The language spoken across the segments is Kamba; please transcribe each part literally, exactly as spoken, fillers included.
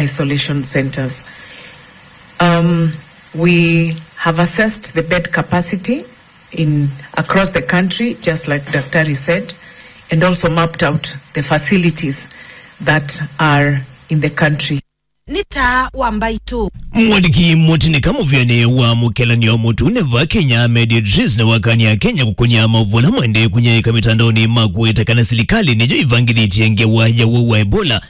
isolation centers. Um, we have assessed the bed capacity in across the country, just like Daktari said, and also mapped out the facilities that are in the country. Nĩ taa wa mbaitũ. Mwandĩki mũtĩnĩka mũvĩanĩ wa mũkelanĩo mũtune va Kenya, Ahmed Idris, nĩwakany'a Akenya kũkũnĩa maũvoo ala maendee kũnyaĩĩka mĩtandaonĩ ma kũweta kana silikalĩ nĩyo ĩvangĩthĩtye ngewa ya ũwau wa Ebola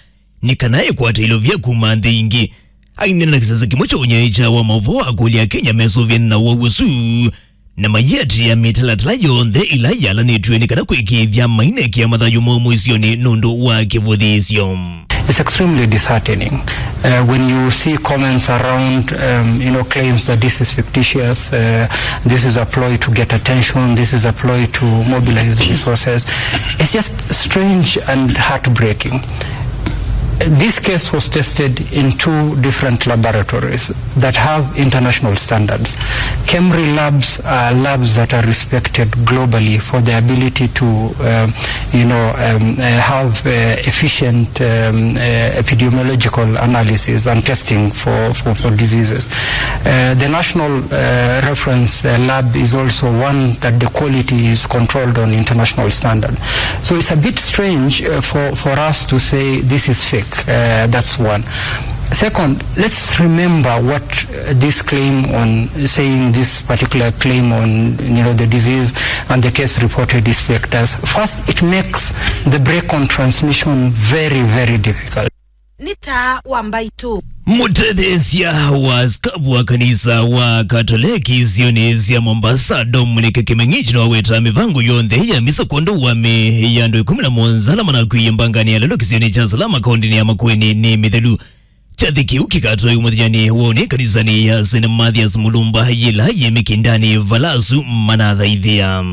nĩ kana ĩkwate ilovya kuma nthĩ ingĩ. Aineena na kĩsese kĩmwe kya ũnyaĩĩkya wa maũvoo, akũlya Akenya mesũvĩane na ũwau ũsu na mayĩatĩĩa mĩtalatala yonthe ĩla yalanĩtw'e nĩ kana kwĩkĩĩthya mainekĩa mathayũ moo mũisyonĩ nũndũ wa kĩvũthĩĩsyo. It's extremely disheartening, uh, when you see comments around, um, you know, claims that this is fictitious, uh, this is a ploy to get attention, this is a ploy to mobilize resources. It's just strange and heartbreaking. This case was tested in two different laboratories that have international standards. KEMRI labs are labs that are respected globally for their ability to, uh, you know, um, uh, have, uh, efficient, um, uh, epidemiological analysis and testing for, for, for diseases. Uh, the National, uh, Reference, uh, Lab is also one that the quality is controlled on international standard. So it's a bit strange, uh, for, for us to say this is fake. Uh, that's one. Second, let's remember what, uh, this claim on saying this particular claim on, you know, the disease and the case reported is fake does. First, it makes the break on transmission very, very difficult. Nĩ taa wa mbaitũ. Mũtetheesya wa askavu wa kanisa wa Katoleki isionĩ sya Mombasa, Dominic Kimeng'ich, nĩwaweta mĩvango yonthe ya misa kwondũ wa mĩĩ ya andũ ĩkũmi na mũonza ala manakw'ĩie mbanganĩ ya lelũ kĩsionĩ kya Salama, kaũntĩnĩ ya Makueni nĩ mĩthelu. Kyathĩ kĩu kĩkatwaĩwa mũthenyanĩ wa ũnĩ kanisanĩ ya Saint Mathias Mulumba yĩla yĩ Mĩkĩndanĩ vala asu manathaithĩa.